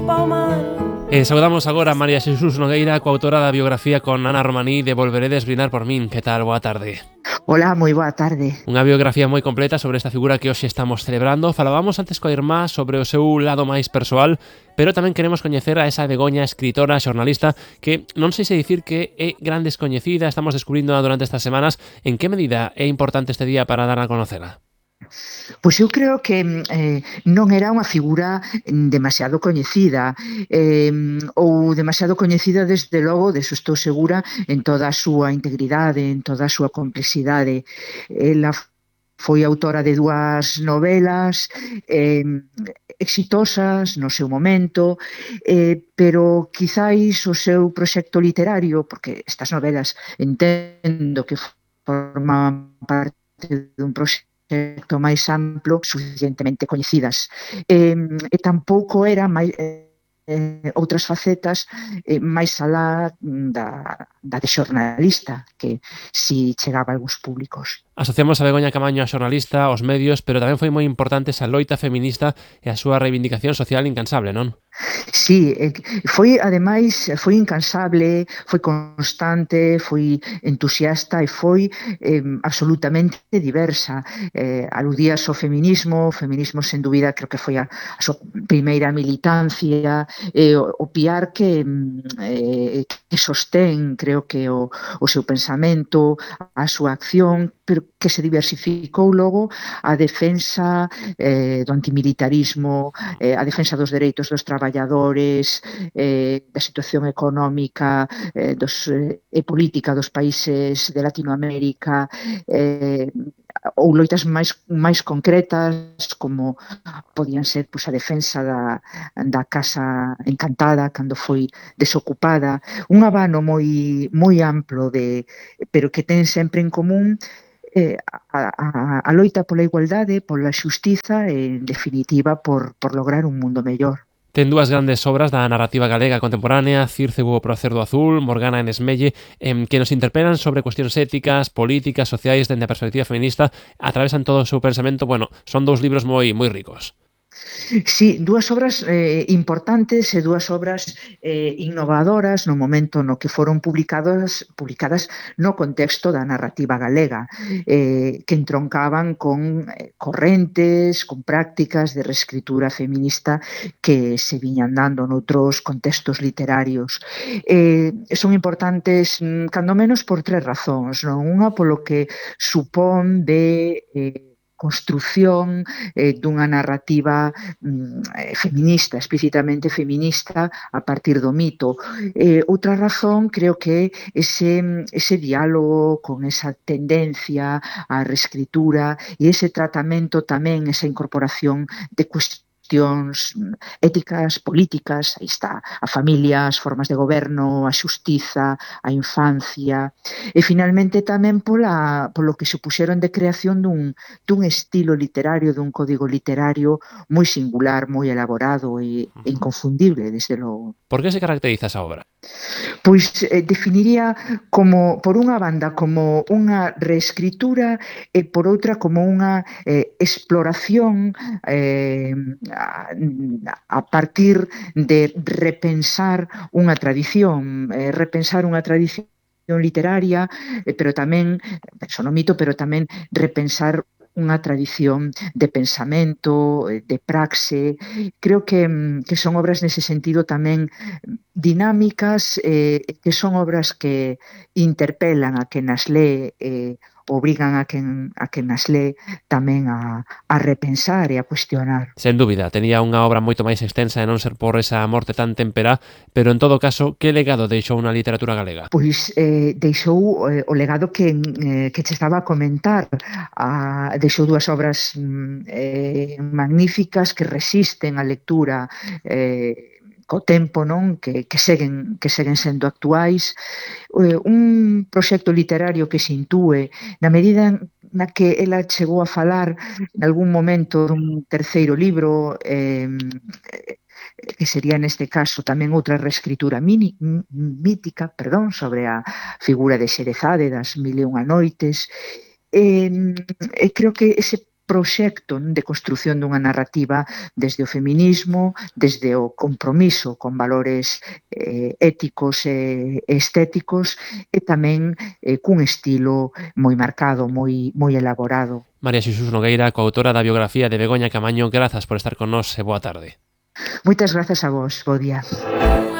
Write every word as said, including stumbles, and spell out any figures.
pa' o mar. E saudamos agora a María Xesús Nogueira, coautora da biografía con Ana Romaní de Volveredes brindar por min. Que tal? Boa tarde. Hola, moi boa tarde. Unha biografía moi completa sobre esta figura que hoxe estamos celebrando. Falábamos antes coa irmá sobre o seu lado máis persoal, pero tamén queremos coñecer a esa Begoña, escritora, xornalista, que non sei se dicir que é gran descoñecida, estamos descubrindo durante estas semanas. En que medida é importante este día para dar a conocela? Pois eu creo que eh, non era unha figura demasiado coñecida eh, ou demasiado coñecida desde logo, deso estou segura, en toda a súa integridade, en toda a súa complexidade. Ela foi autora de dúas novelas eh, exitosas no seu momento, eh, pero quizáis o seu proxecto literario, porque estas novelas entendo que forman parte dun proxecto máis amplo, suficientemente coñecidas. E, e tampouco era máis, eh, outras facetas eh, máis alá da, da de xornalista, que si chegaba a algúns públicos. Asociamos a Begoña Camaño a xornalista, aos medios, pero tamén foi moi importante esa loita feminista e a súa reivindicación social incansable, non? Sí, foi, ademais, foi incansable, foi constante, foi entusiasta e foi eh, absolutamente diversa. Eh, aludías ao feminismo, o feminismo, sen dúbida, creo que foi a, a súa primeira militancia, eh, o, o piar que, eh, que sostén, creo que o, o seu pensamento, a súa acción, pero que se diversificou logo a defensa eh, do antimilitarismo, eh, a defensa dos dereitos dos traballadores, eh, da situación económica eh, dos, eh, e política dos países de Latinoamérica, eh, ou loitas máis máis concretas, como podían ser pois, a defensa da, da Casa Encantada cando foi desocupada. Un abano moi moi amplo, de, pero que ten sempre en común Eh, a, a, a loita pola igualdade, pola xustiza e, en definitiva, por, por lograr un mundo mellor. Ten dúas grandes obras da narrativa galega contemporánea, Círcego pro Cerdo Azul, Morgana en Esmelle, eh, que nos interpelan sobre cuestións éticas, políticas, sociais, dende a perspectiva feminista, atravesan todo o seu pensamento. Bueno, son dous libros moi moi ricos. Sí, dúas obras eh, importantes e dúas obras eh, innovadoras no momento no que foron publicadas, publicadas no contexto da narrativa galega, eh, que entroncaban con eh, correntes, con prácticas de reescritura feminista que se viñan dando noutros contextos literarios. Eh, son importantes, cando menos, por tres razóns, non? Unha polo que supón de eh, construción eh, dunha narrativa mm, feminista, explícitamente feminista, a partir do mito. Eh, outra razón, creo que ese, ese diálogo con esa tendencia á reescritura e ese tratamento tamén, esa incorporación de cuestións éticas, políticas, aí está, a familia, as formas de goberno, a xustiza, a infancia, e finalmente tamén pola, polo que supuxeron de creación dun, dun estilo literario, dun código literario moi singular, moi elaborado e, e inconfundible, desde logo. Por que se caracteriza esa obra? Pois eh, definiría como, por unha banda, como unha reescritura e por outra como unha eh, exploración eh, a, a partir de repensar unha tradición, eh, repensar unha tradición literaria, eh, pero tamén, penso no mito, pero tamén repensar unha tradición de pensamento, de praxe. Creo que, que son obras nese sentido tamén dinámicas, eh, que son obras que interpelan a quen as lee, eh, obrigan a quen, a quen as lee tamén a, a repensar e a cuestionar. Sen dúbida, tenía unha obra moito máis extensa e non ser por esa morte tan temperá, pero en todo caso, que legado deixou unha literatura galega? Pois eh, deixou eh, o legado que, eh, que che estaba a comentar. A, deixou dúas obras eh, magníficas que resisten a lectura eh, co tempo, non? Que, que seguen que seguen sendo actuais, eh, un proxecto literario que se intúe na medida na que ela chegou a falar en algún momento dun terceiro libro, eh, que sería neste caso tamén outra reescritura mini, mítica, perdón, sobre a figura de Xerezade das Mil e unha noites, e, e creo que ese proxecto de construción dunha narrativa desde o feminismo, desde o compromiso con valores eh, éticos e estéticos e tamén eh, cun estilo moi marcado, moi, moi elaborado. María Xesús Nogueira, coautora da biografía de Begoña Camaño, grazas por estar con nós e boa tarde. Moitas grazas a vos, bo día.